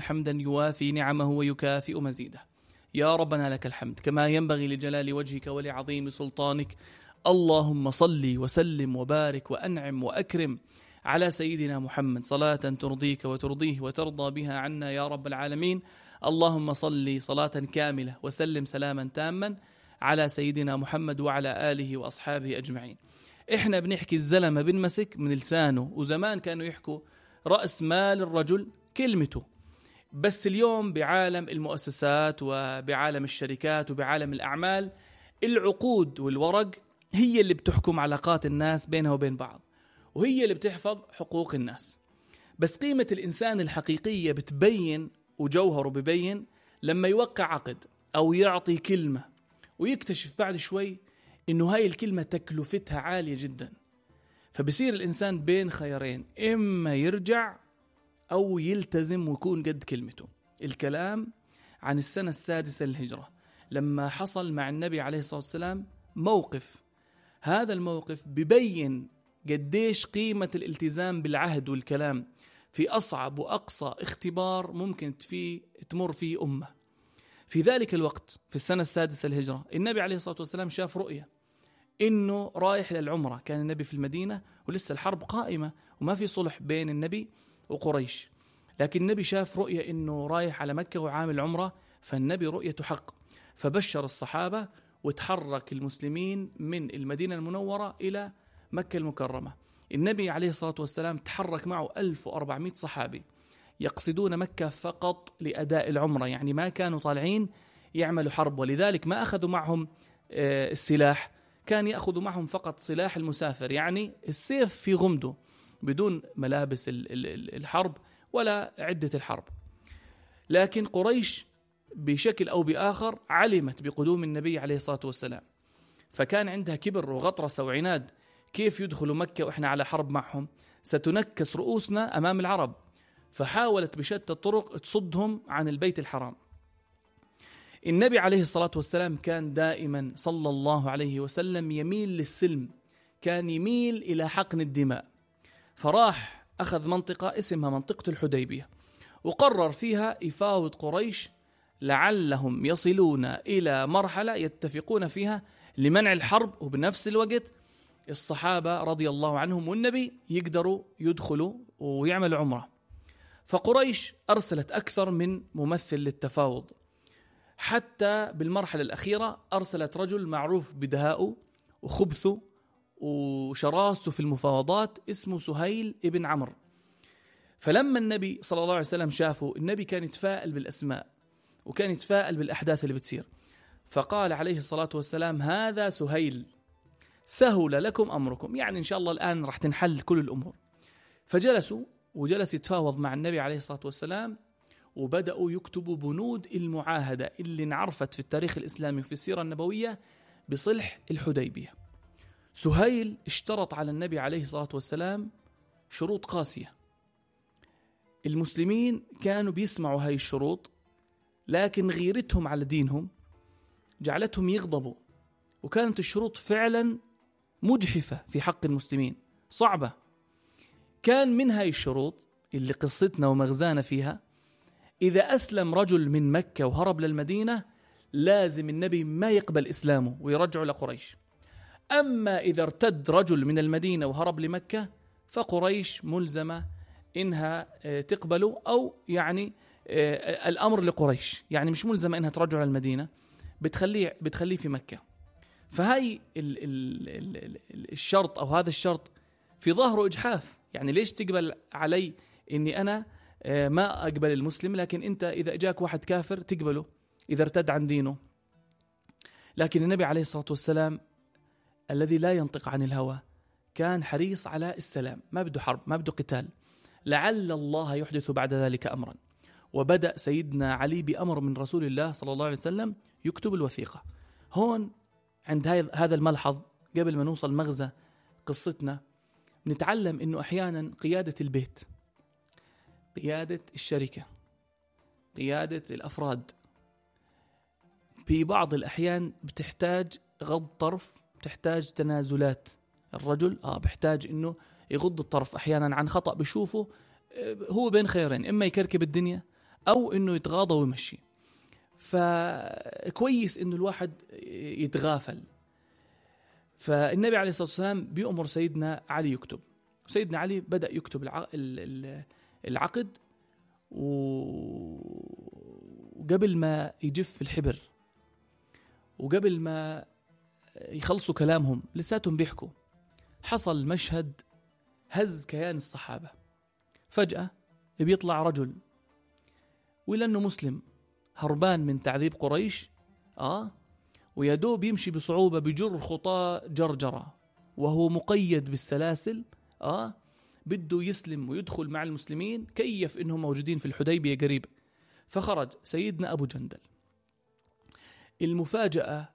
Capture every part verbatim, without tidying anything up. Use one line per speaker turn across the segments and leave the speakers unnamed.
حمدا يوافي نعمه ويكافئ مزيده. يا ربنا لك الحمد كما ينبغي لجلال وجهك ولعظيم سلطانك. اللهم صل وسلم وبارك وأنعم وأكرم على سيدنا محمد صلاة ترضيك وترضيه وترضى بها عنا يا رب العالمين. اللهم صل صلاة كاملة وسلم سلاما تاما على سيدنا محمد وعلى آله وأصحابه أجمعين. إحنا بنحكي الزلمة بنمسك من لسانه، وزمان كانوا يحكوا رأس مال الرجل كلمته. بس اليوم بعالم المؤسسات وبعالم الشركات وبعالم الأعمال العقود والورق هي اللي بتحكم علاقات الناس بينها وبين بعض، وهي اللي بتحفظ حقوق الناس. بس قيمة الإنسان الحقيقية بتبين وجوهره ببين لما يوقع عقد أو يعطي كلمة ويكتشف بعد شوي إنه هاي الكلمة تكلفتها عالية جدا. فبصير الإنسان بين خيارين، إما يرجع أو يلتزم ويكون قد كلمته. الكلام عن السنة السادسة للهجرة لما حصل مع النبي عليه الصلاة والسلام موقف. هذا الموقف ببين قديش قيمة الالتزام بالعهد والكلام في أصعب وأقصى اختبار ممكن فيه تمر فيه أمة. في ذلك الوقت في السنة السادسة للهجرة النبي عليه الصلاة والسلام شاف رؤية إنه رايح للعمرة. كان النبي في المدينة ولسه الحرب قائمة وما في صلح بين النبي وقريش، لكن النبي شاف رؤية إنه رايح على مكة وعامل عمرة، فالنبي رؤيته حق. فبشر الصحابة وتحرك المسلمين من المدينة المنورة إلى مكة المكرمة. النبي عليه الصلاة والسلام تحرك معه ألف وأربعمائة صحابي يقصدون مكة فقط لأداء العمرة، يعني ما كانوا طالعين يعملوا حرب، ولذلك ما أخذوا معهم السلاح، كان يأخذوا معهم فقط سلاح المسافر، يعني السيف في غمده بدون ملابس الحرب ولا عدة الحرب. لكن قريش بشكل أو بآخر علمت بقدوم النبي عليه الصلاة والسلام، فكان عندها كبر وغطرسة وعناد. كيف يدخلوا مكة وإحنا على حرب معهم؟ ستنكس رؤوسنا أمام العرب. فحاولت بشتى الطرق تصدهم عن البيت الحرام. النبي عليه الصلاة والسلام كان دائما صلى الله عليه وسلم يميل للسلم، كان يميل إلى حقن الدماء. فراح أخذ منطقة اسمها منطقة الحديبية وقرر فيها يفاوض قريش لعلهم يصلون إلى مرحلة يتفقون فيها لمنع الحرب، وبنفس الوقت الصحابة رضي الله عنهم والنبي يقدروا يدخلوا ويعملوا عمرة. فقريش أرسلت أكثر من ممثل للتفاوض، حتى بالمرحلة الأخيرة أرسلت رجل معروف بدهائه وخبثه وشراسه في المفاوضات اسمه سهيل ابن عمرو. فلما النبي صلى الله عليه وسلم شافه، النبي كان يتفائل بالأسماء وكان يتفائل بالأحداث اللي بتصير، فقال عليه الصلاة والسلام هذا سهيل سهل لكم أمركم، يعني إن شاء الله الآن رح تنحل كل الأمور. فجلسوا وجلس يتفاوض مع النبي عليه الصلاة والسلام، وبدأوا يكتبوا بنود المعاهدة اللي انعرفت في التاريخ الإسلامي وفي السيرة النبوية بصلح الحديبية. سهيل اشترط على النبي عليه الصلاة والسلام شروط قاسية. المسلمين كانوا بيسمعوا هاي الشروط، لكن غيرتهم على دينهم جعلتهم يغضبوا، وكانت الشروط فعلا مجحفة في حق المسلمين صعبة. كان من هاي الشروط اللي قصتنا ومغزانا فيها، إذا أسلم رجل من مكة وهرب للمدينة لازم النبي ما يقبل إسلامه ويرجعه لقريش. أما إذا ارتد رجل من المدينة وهرب لمكة فقريش ملزمة إنها تقبله، أو يعني الأمر لقريش، يعني مش ملزمة إنها ترجع للمدينة، بتخليه بتخليه في مكة. فهاي ال ال ال ال الشرط أو هذا الشرط في ظاهره إجحاف، يعني ليش تقبل علي إني أنا ما أقبل المسلم، لكن أنت إذا جاك واحد كافر تقبله إذا ارتد عن دينه. لكن النبي عليه الصلاة والسلام الذي لا ينطق عن الهوى كان حريص على السلام، ما بده حرب ما بده قتال، لعل الله يحدث بعد ذلك أمرا. وبدأ سيدنا علي بأمر من رسول الله صلى الله عليه وسلم يكتب الوثيقة. هون عند هذا الملحظ قبل ما نوصل مغزى قصتنا نتعلم إنه أحيانا قيادة البيت، قيادة الشركة، قيادة الأفراد في بعض الأحيان بتحتاج غض طرف، بتحتاج تنازلات. الرجل آه بحتاج إنه يغض الطرف أحيانا عن خطأ بشوفه هو بين خيرين، إما يكركب الدنيا أو إنه يتغاضى ويمشي. فكويس إنه الواحد يتغافل. فالنبي عليه الصلاة والسلام بيأمر سيدنا علي يكتب، سيدنا علي بدأ يكتب العقد، وقبل ما يجف الحبر وقبل ما يخلصوا كلامهم لساتهم بيحكوا، حصل مشهد هز كيان الصحابة. فجأة بيطلع رجل ولأنه مسلم هربان من تعذيب قريش آه ويدوب يمشي بصعوبة بجر خطاة جرجرة وهو مقيد بالسلاسل آه بده يسلم ويدخل مع المسلمين، كيف إنهم موجودين في الحديبية قريب. فخرج سيدنا أبو جندل. المفاجأة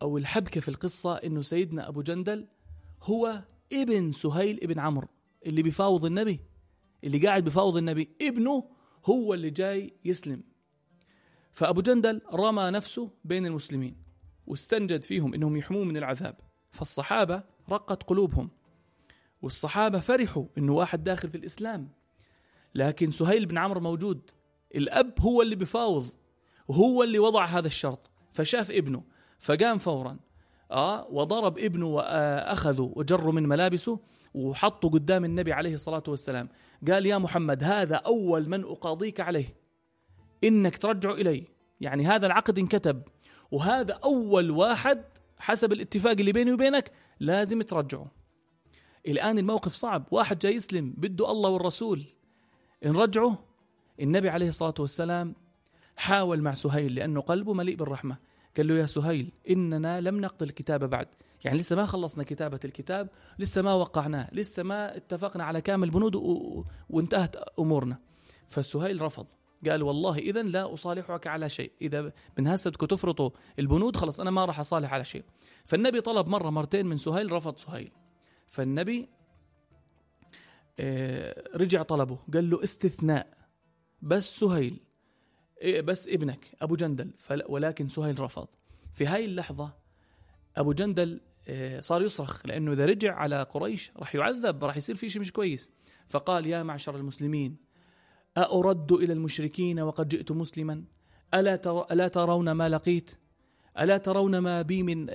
أو الحبكة في القصة إنه سيدنا أبو جندل هو ابن سهيل ابن عمرو اللي بيفاوض النبي، اللي قاعد بيفاوض النبي، ابنه هو اللي جاي يسلم. فأبو جندل رمى نفسه بين المسلمين واستنجد فيهم إنهم يحموه من العذاب. فالصحابة رقت قلوبهم، والصحابة فرحوا إنه واحد داخل في الإسلام. لكن سهيل بن عمرو موجود، الأب هو اللي بيفاوض وهو اللي وضع هذا الشرط. فشاف ابنه فقام فورا آه وضرب ابنه وأخذه وجروا من ملابسه وحطوا قدام النبي عليه الصلاة والسلام. قال: يا محمد، هذا أول من أقاضيك عليه، إنك ترجع إلي. يعني هذا العقد انكتب، وهذا أول واحد حسب الاتفاق اللي بيني وبينك لازم ترجعه. الآن الموقف صعب، واحد جاي يسلم بده الله والرسول نرجعه. النبي عليه الصلاة والسلام حاول مع سهيل لأنه قلبه مليء بالرحمة، قال له: يا سهيل، إننا لم نقتل الكتاب بعد، يعني لسه ما خلصنا كتابة الكتاب، لسه ما وقعناه، لسه ما اتفقنا على كامل بنود و... وانتهت أمورنا. فسهيل رفض، قال: والله إذن لا أصالحك على شيء، إذا من هسه بدكم تفرطوا البنود خلص أنا ما راح أصالح على شيء. فالنبي طلب مرة مرتين من سهيل، رفض سهيل. فالنبي رجع طلبه، قال له: استثناء، بس سهيل، بس ابنك أبو جندل. ولكن سهيل رفض. في هاي اللحظة أبو جندل صار يصرخ، لأنه إذا رجع على قريش راح يعذب، راح يصير فيه شيء مش كويس. فقال: يا معشر المسلمين، أأرد إلى المشركين وقد جئت مسلما؟ ألا ألا ترون ما لقيت؟ ألا ترون ما بي من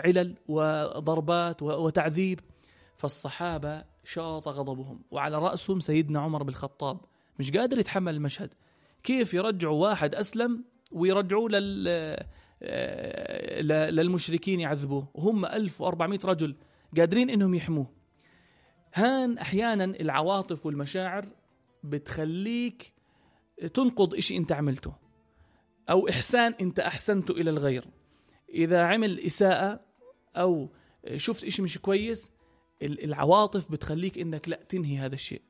علل وضربات وتعذيب؟ فالصحابة شاط غضبهم، وعلى رأسهم سيدنا عمر بالخطاب، مش قادر يتحمل المشهد. كيف يرجعوا واحد أسلم ويرجعوا لل... للمشركين يعذبوه، وهم ألف وأربعمائة رجل قادرين إنهم يحموه. هان أحيانا العواطف والمشاعر بتخليك تنقض إشي أنت عملته، أو إحسان أنت أحسنته إلى الغير. إذا عمل إساءة أو شفت إشي مش كويس، العواطف بتخليك إنك لا تنهي هذا الشيء،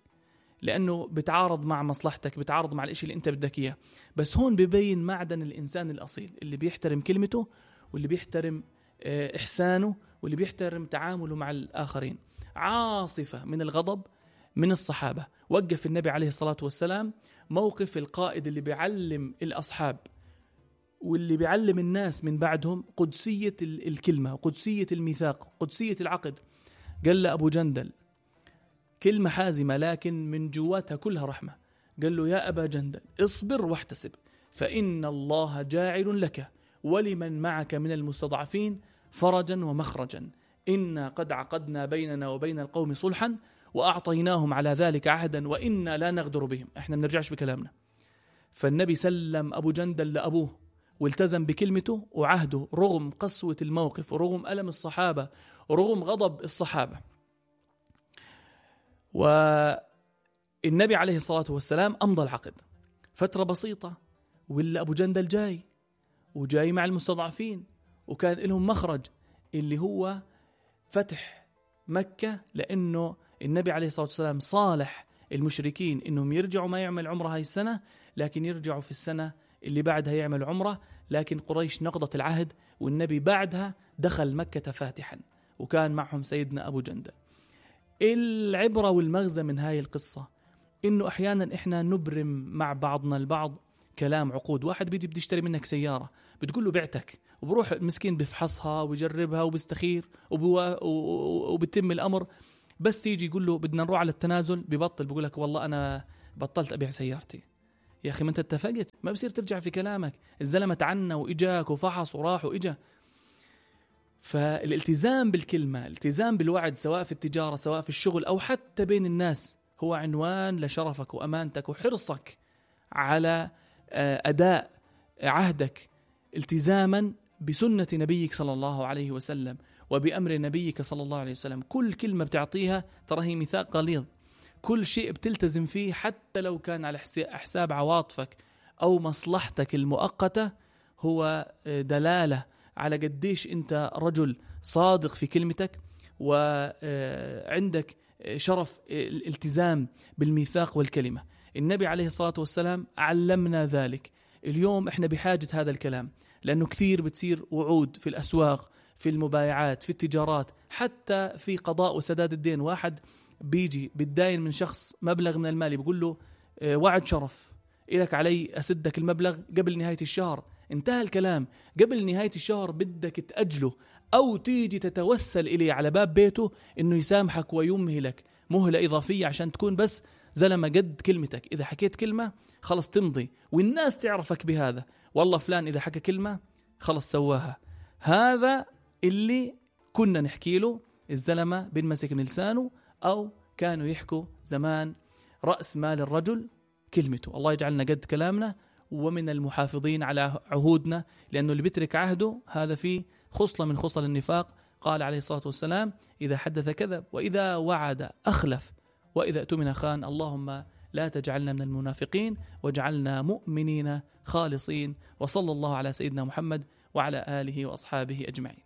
لأنه بتعارض مع مصلحتك، بتعارض مع الإشي اللي أنت بدك إياه. بس هون ببين معدن الإنسان الأصيل، اللي بيحترم كلمته، واللي بيحترم إحسانه، واللي بيحترم تعامله مع الآخرين. عاصفة من الغضب من الصحابة، وقف النبي عليه الصلاة والسلام موقف القائد اللي بيعلم الأصحاب واللي بيعلم الناس من بعدهم قدسية الكلمة، قدسية الميثاق، قدسية العقد. قال له أبو جندل كلمة حازمة لكن من جواتها كلها رحمة، قال له: يا أبا جندل، اصبر واحتسب، فإن الله جاعل لك ولمن معك من المستضعفين فرجا ومخرجا، إنا قد عقدنا بيننا وبين القوم صلحا وأعطيناهم على ذلك عهدا وإنا لا نغدر بهم، إحنا بنرجعش بكلامنا. فالنبي سلم أبو جندل لأبوه والتزم بكلمته وعهده، رغم قسوة الموقف ورغم ألم الصحابة ورغم غضب الصحابة. والنبي عليه الصلاة والسلام أمضى العقد فترة بسيطة، ولا أبو جندل جاي وجاي مع المستضعفين، وكان لهم مخرج اللي هو فتح مكة، لأنه النبي عليه الصلاة والسلام صالح المشركين إنهم يرجعوا ما يعمل عمره هاي السنة، لكن يرجعوا في السنة اللي بعدها يعمل عمره. لكن قريش نقضت العهد، والنبي بعدها دخل مكة فاتحا، وكان معهم سيدنا أبو جندل. العبرة والمغزى من هاي القصة إنه أحيانا إحنا نبرم مع بعضنا البعض كلام عقود. واحد بيجي بدي يشتري منك سيارة، بتقول له بعتك، وبروح المسكين بفحصها ويجربها وبيستخير وبوا... وبتم الأمر، بس تيجي يقول له بدنا نروح على التنازل، ببطل بيقول لك والله أنا بطلت أبيع سيارتي. يا أخي ما أنت اتفقت، ما بصير ترجع في كلامك. الزلمة تعنى وإجاك وفحص وراح وإجا. فالالتزام بالكلمة، الالتزام بالوعد، سواء في التجارة سواء في الشغل أو حتى بين الناس، هو عنوان لشرفك وأمانتك وحرصك على أداء عهدك التزاما بسنة نبيك صلى الله عليه وسلم وبأمر نبيك صلى الله عليه وسلم. كل كلمة بتعطيها ترى هي ميثاق غليظ، كل شيء بتلتزم فيه حتى لو كان على حساب عواطفك أو مصلحتك المؤقتة هو دلالة على قديش أنت رجل صادق في كلمتك وعندك شرف الالتزام بالميثاق والكلمة. النبي عليه الصلاة والسلام علمنا ذلك. اليوم احنا بحاجة هذا الكلام، لأنه كثير بتصير وعود في الأسواق، في المبايعات، في التجارات، حتى في قضاء وسداد الدين. واحد بيجي بتداين من شخص مبلغ من المال، بيقول له وعد شرف إلك علي أسدك المبلغ قبل نهاية الشهر. انتهى الكلام، قبل نهاية الشهر بدك تأجله أو تيجي تتوسل إليه على باب بيته إنه يسامحك ويمهلك مهلة إضافية عشان تكون بس زلمة قد كلمتك. إذا حكيت كلمة خلص تمضي والناس تعرفك بهذا، والله فلان إذا حكى كلمة خلص سواها. هذا اللي كنا نحكي له، الزلمة بنمسك من لسانه، أو كانوا يحكوا زمان رأس مال الرجل كلمته. الله يجعلنا قد كلامنا ومن المحافظين على عهودنا، لأنه اللي بيترك عهده هذا فيه خصلة من خصل النفاق. قال عليه الصلاة والسلام إذا حدث كذب وإذا وعد أخلف وإذا اؤتمن خان. اللهم لا تجعلنا من المنافقين واجعلنا مؤمنين خالصين. وصلى الله على سيدنا محمد وعلى آله وأصحابه أجمعين.